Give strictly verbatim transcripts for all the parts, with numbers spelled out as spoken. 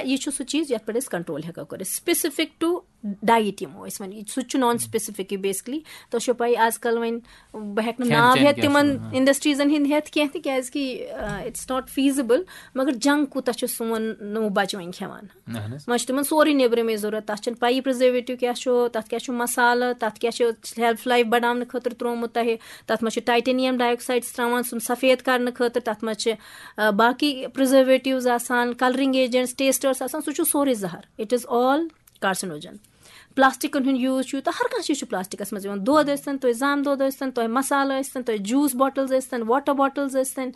یہِ چھُ سُہ چیٖز یَتھ پٮ۪ٹھ أسۍ control ہٮ۪کو کٔرِتھ، specific to diet یِمو أسۍ وَنان، سُہ تہِ چھُ non specific basically. تۄہہِ چھو پَیی آز کَل وۄنۍ بہٕ ہٮ۪کہٕ نہٕ کھٮ۪ن ناو چٮ۪ن ہٮ۪تھ کیٛاہ تِمَن چھُ، ہاں۔ Industries-َن ہِنٛدۍ ہٮ۪تھ کینٛہہ تہِ، کیٛازِکہِ it's not feasible. مگر junk کوٗتاہ چھُ سون نوٚو بَچہٕ وۄنۍ کھٮ۪وان؟ اہن حظ۔ وۄنۍ چھُ تِمَن سورُے نیٚبرِمٕے ضوٚرَتھ، تَتھ چھَنہٕ پَیی preservative کیٛاہ چھُ، تَتھ کیٛاہ چھُ مصالہٕ، تَتھ کیٛاہ چھُ shelf life بَڑاونہٕ خٲطرٕ ترٛوومُت تۄہہِ، تَتھ منٛز چھُ titanium dioxide ترٛاوان سُہ سفید کَرنہٕ خٲطرٕ، تَتھ منٛز چھِ آ، باقٕے preservatives آسان، colouring agents, tasters آسان، سُہ چھُ سورُے زہر. It is all carcinogen. Plastic-َن ہُنٛد use چھُ یوٗتاہ، ہر کانٛہہ چیٖز چھُ plastic-َس منٛز یِوان، دۄد ٲسۍتَن، تۄہہِ زامہٕ دۄد ٲسۍتَن، تۄہہِ مصالہٕ ٲسۍتَن، تۄہہِ juice bottles ٲسۍتَن، water bottles ٲسۍتَن،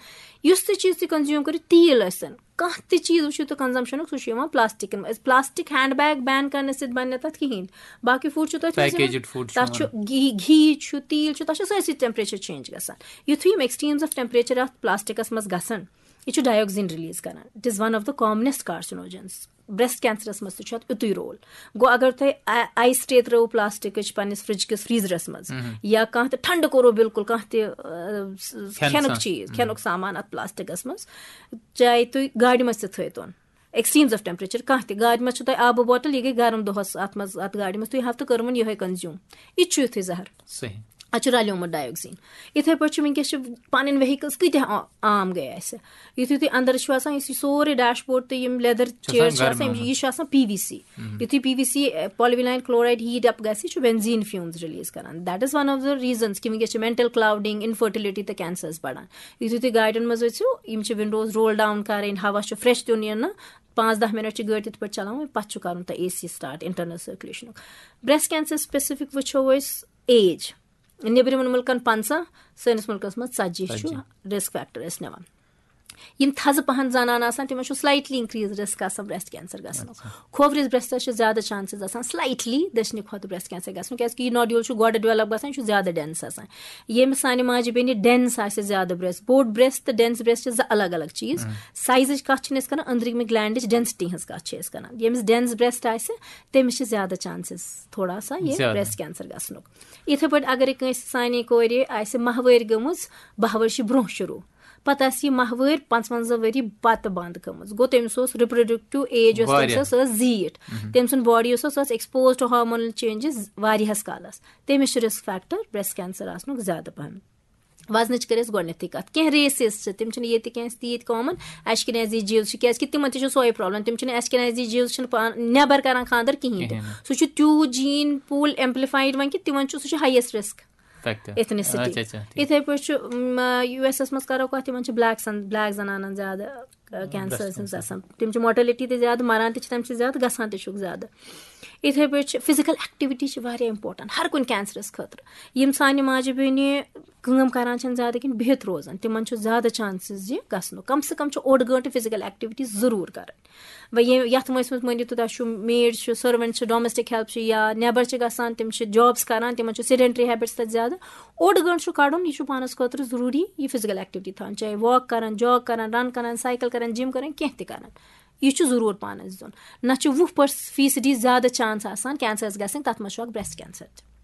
یُس تہِ چیٖز تُہۍ consume کٔرِو، تیٖل ٲسۍتَن، کانٛہہ تہِ چیٖز وٕچھِو تُہۍ consumption-ُک، سُہ چھُ یِوان plastic-َن منٛز. Plastic hand bag ban کَرنہٕ سۭتۍ بَنہِ نہٕ تَتھ کِہیٖنۍ، باقٕے food چھُ تۄہہِ تھٲومٕژ یِوان، Packaged food چھُ تَتھ چھُ یِوان۔ گھی گھی چھُ، تیٖل چھُ، تَتھ چھُ سٲرسٕے temperature change گژھان. یُتھُے یِم extremes of temperature اَتھ plastic-َس منٛز گژھن، یہِ چھُ dioxin release کران. It is one of the commonest carcinogens. Breast cancer-َس منٛز تہِ چھُ اَتھ یُتُے role. گوٚو، اگر تۄہہِ آ- ice tray ترٲوو plastic-ٕچ پننِس fridge-کِس freezer-َس منٛز، یا کانٛہہ تہِ ٹھنڈٕ کوٚرو بالکل، کانٛہہ تہِ آ، س- کھٮ۪نہٕ کھٮ۪نُک سا- چیٖز، کھٮ۪نُک سامان اَتھ plastic-َس منٛز، چاہے تُہۍ گاڑِ منٛز تہِ تھٲیتون، extremes of temperature کانٛہہ تہِ، گاڑِ منٛز چھُ تۄہہِ آبہٕ bottle، یہِ گٔے گرم دۄہَس اَتھ منٛز، اَتھ گاڑِ منٛز، تُہۍ ہاو تہٕ کٔرمٕژ یِہوٚے consume. یہِ تہِ چھُ یُتھُے زہر. صحیح۔ اَتھ چھُ رلیومُت dioxin. یِتھَے پٲٹھۍ چھُ وٕنکیٚس چھِ پَنٕنۍ vehicles کۭتیٛاہ آ- عام گٔے اَسہِ. یُتھُے تُہۍ اَندَر چھُ آسان، یُس یہِ سورُے dashboard تہٕ یِم leather چھُ chairs آسان چھِ آسان، یِم- گرماومُت۔ یہِ چھُ آسان P V C. یُتھُے P V C polyvinyl chloride heat up گژھِ، یہِ چھُ benzene fumes release کران. That is one of the reasons کہِ وٕنکیٚس چھِ mental clouding, infertility تہٕ cancers بڑان. یُتھُے تُہۍ گاڑٮ۪ن منٛز أژِو، یِم چھِ windows roll down کَرٕنۍ، ہوا چھُ fresh دیُن یِنہٕ. پانٛژھ دَہ minute چھِ گٲڑۍ تِتھ پٲٹھۍ چلاوٕنۍ، پَتہٕ چھُ کَرُن تۄہہِ A C start، internal circulation-ُک. Breast cancer specific وٕچھو أسۍ age. نیٚبرِمٮ۪ن مُلکَن پنٛژاہ، سٲنِس مُلکَس منٛز ژَتجی چھُ ژَتجی۔ risk factor أسۍ نِوان. یِم تھزٕ پَہَن زَنانہٕ آسان، تِمَن چھُ slightly increase risk آسان breast cancer گژھنُک. کھوورِس breast-َس چھِ زیادٕ chances آسان slightly دٔچھنہِ کھۄتہٕ breast cancer گژھنُک، کیٛازِکہِ یہِ nodule چھُ گۄڈٕ develop گژھان، یہِ چھُ زیادٕ dense آسان. ییٚمِس سانہِ ماجہِ بیٚنہِ dense آسہِ زیادٕ breast، بوٚڑ breast تہٕ dense breast چھِ زٕ الگ الگ چیٖز. Size-ٕچ کَتھ چھِنہٕ أسۍ کَران، أنٛدرِمہِ gland-ٕچ density ہٕنٛز کَتھ چھِ أسۍ کَران. ییٚمِس dense breast آسہِ، تٔمِس چھِ زیادٕ chances تھوڑا سا یہِ زیادٕ۔ Breast cancer گژھنُک. یِتھَے پٲٹھۍ اگرے کٲنٛسہِ سانہِ کورِ آسہِ ماہوٲرۍ گٔمٕژ، باہ ؤرشہِ برونٛہہ شروٗع، پتہٕ آسہِ یہِ ماہوٲرۍ پانٛژوَنٛزاہ ؤری پتہٕ بنٛد گٔمٕژ، گوٚو تٔمِس اوس reproductive age یۄس تٔمِس واریاہ۔ ٲس، سۄ ٲس زیٖٹھ۔ تٔمۍ سُنٛد body یُس اوس، سۄ ٲس exposed to hormonal changes واریاہس کالس۔ تٔمِس چھُ risk factor breast cancer آسنُک زیادٕ پہم۔ وزنٕچ کٔر اَسہِ گۄڈٕنیتھٕے کَتھ، کینٛہہ races چھِ، تِم چھِنہٕ ییٚتہِ کینٛہہ تیٖتۍ common، Ashkenazi Jews چھِ، کیازِ کہِ تِمن تہِ چھُ سۄے problem، تِم چھِنہٕ Ashkenazi Jews چھِنہٕ پان نٮ۪بر کران خاندر کِہینۍ تہِ۔ کِہینۍ نہٕ۔ سُہ چھُ تیوٗت gene pool amplified وۄنۍ کہِ تِمن چھُ، سُہ چھُ highest risk Factor۔ ethnicity۔ اچھا، اچھا، ٹھیٖک۔ یِتھے پٲٹھۍ چھُ، م، یو ایس اَس منٛز کرو کَتھ، تِمن چھِ black سن، black زنانن زیادٕ cancer Breast سٕنٛز cancer۔ آسان، تِم چھِ mortality تہِ زیادٕ، مران تہِ چھِ تَمہِ سۭتۍ زیادٕ، گژھان تہِ چھُکھ زیادٕ۔ یِتھے پٲٹھۍ چھِ physical activity چھِ واریاہ important ہر کُنہِ cancerس خٲطرٕ۔ یِم سانہِ ماجہِ بیٚنہِ کٲم کران چھَنہٕ زیادٕ کِہیٖنۍ، بِہِتھ روزان، تِمن چھُ زیادٕ chances یہِ گژھنُک۔ کم سے کم چھُ اوٚڑ گٲنٛٹہٕ physical activity ضروٗر کرٕنۍ۔ وۄنۍ یہِ، یَتھ مٲنِس منٛز مٲنِو تُہۍ، تۄہہِ چھُو maid چھِ، servant چھِ، domestic help چھِ، یا نٮ۪بر چھِ گژھان، تِم چھِ jobs کران، تِمن چھُ sedentary habits تَتہِ زیادٕ۔ اوٚڑ گٲنٛٹہٕ چھُ کڑُن، یہِ چھُ پانس خٲطرٕ ضروٗری، یہِ physical activity تھاوٕنۍ، چاہے walk کرن، jog کرن، run کرن، cycle کرن، gym کرن، کینٛہہ تہِ کرن، یہِ چھُ ضروٗر پانس دیُن۔ نہ چھُ وُہ فیٖصدی زیادٕ chance آسان cancerس گژھٕنۍ، تَتھ منٛز چھُ اکھ breast cancer تہِ۔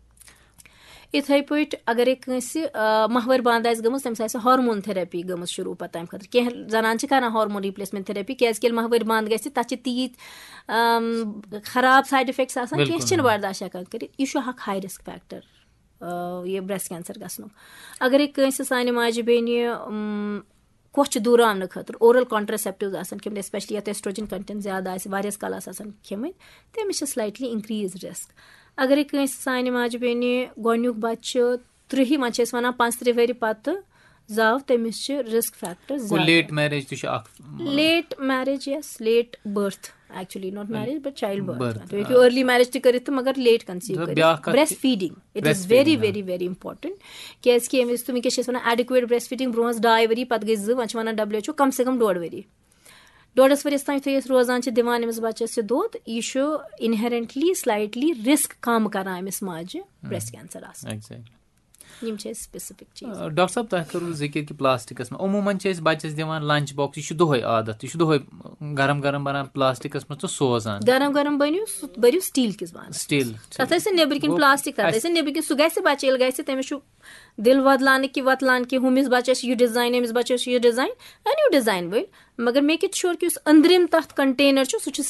یِتھے پٲٹھۍ اگرے کٲنٛسہِ، آ، ماہوٲرۍ بنٛد آسہِ گٔمٕژ، تٔمِس آسہِ hormone therapy گٔمٕژ شروٗع پتہٕ تَمہِ خٲطرٕ۔ کینٛہہ زنانہٕ چھِ کران hormone replacement therapy، کیازِ کہِ ییٚلہِ ماہوٲرۍ بنٛد گژھِ، تَتھ چھِ تیٖتۍ، آم، خراب side effects آسان، کینٛہہ بِلکُل۔ چھِنہٕ برداشت ہٮ۪کان کٔرِتھ۔ یہِ چھُ اکھ high risk factor، آ، یہِ breast cancer گژھنُک۔ اگرے کٲنٛسہِ سانہِ ماجہِ بیٚنہِ، اُم، کۄچھِ دوٗراونہٕ خٲطرٕ oral contraceptives آسان کھیٚمٕتۍ، especially یَتھ estrogen content زیادٕ آسہِ، واریاہَس کالَس آسان کھیٚمٕتۍ، تٔمِس چھِ slightly increase risk۔ اگرے کٲنٛسہِ سانہِ ماجہِ بیٚنہِ گۄڈٕنیُک بَچہٕ چھُ ترٛہہِ، وۄنۍ چھِ أسۍ وَنان پانٛژھ ترٛہہِ ؤری پَتہٕ زاو، تٔمِس چھِ risk factor گوٚو زیادٕ۔ Late marriage تہِ چھُ اکھ۔ Late marriage، yes، late birth، actually not marriage but child birth۔ Birth، تُہۍ ہیٚکِو آ۔ early marriage تہِ کٔرِتھ تہٕ مگر late conceive تہٕ کٔرِتھ۔ بیٛاکھ کَتھ breast کہِ feeding، it is breast very feeding، آ۔ very very important۔ کیازِ کہِ ییٚمہِ وِزِ تُہۍ وٕنکیٚس چھِ أسۍ وَنان adequate breast feeding، برونٛہہ ٲس ڈاے ؤری، پَتہٕ گٔے زٕ، وۄنۍ چھِ وَنان W H O کم سے کم ڈوڈ ؤری۔ ڈوڈس ؤریس تام یُتھُے أسۍ روزان چھِ، دِوان أمِس بَچَس یہِ دۄد، یہِ چھُ inherently slightly risk کم کران أمِس ماجہِ breast cancer آسنُک۔ Exactly۔ یِم چھِ اَسہِ specific چیٖز۔ آ، ڈاکٹر صٲب، تۄہہِ کٔروٕ ذِکِر کہِ پلاسٹکس منٛز، عموٗماً چھِ أسۍ بَچَس دِوان لنچ باکس، یہِ چھُ دۄہَے عادت، یہِ چھُ دۄہَے گرم گرم بَنان پلاسٹکس منٛز تہٕ سوزان۔ گرم گرم بٔنِو، سُہ بٔرِو سٹیٖل کِس بانَس۔ سٹیٖل۔ تَتھ ٲسۍ نٮ۪بٕرۍ کِنۍ گوٚو، پلاسٹک، تَتھ اَسہِ ٲسۍ نٮ۪بٕرۍ کِنۍ، سُہ گژھِ بَچہِ، ییٚلہِ گژھِ، تٔمِس چھُ دِل وۄدلان کہِ وۄتلان کہِ ہُمِس بَچَس چھُ یہِ ڈیزاین، أمِس بَچَس چھُ یہِ ڈیزاین، أنِو ڈیزاین وٲلۍ، مگر make it sure کہِ یُس أنٛدرِم تَتھ کنٹینر چھُ، سُہ چھُ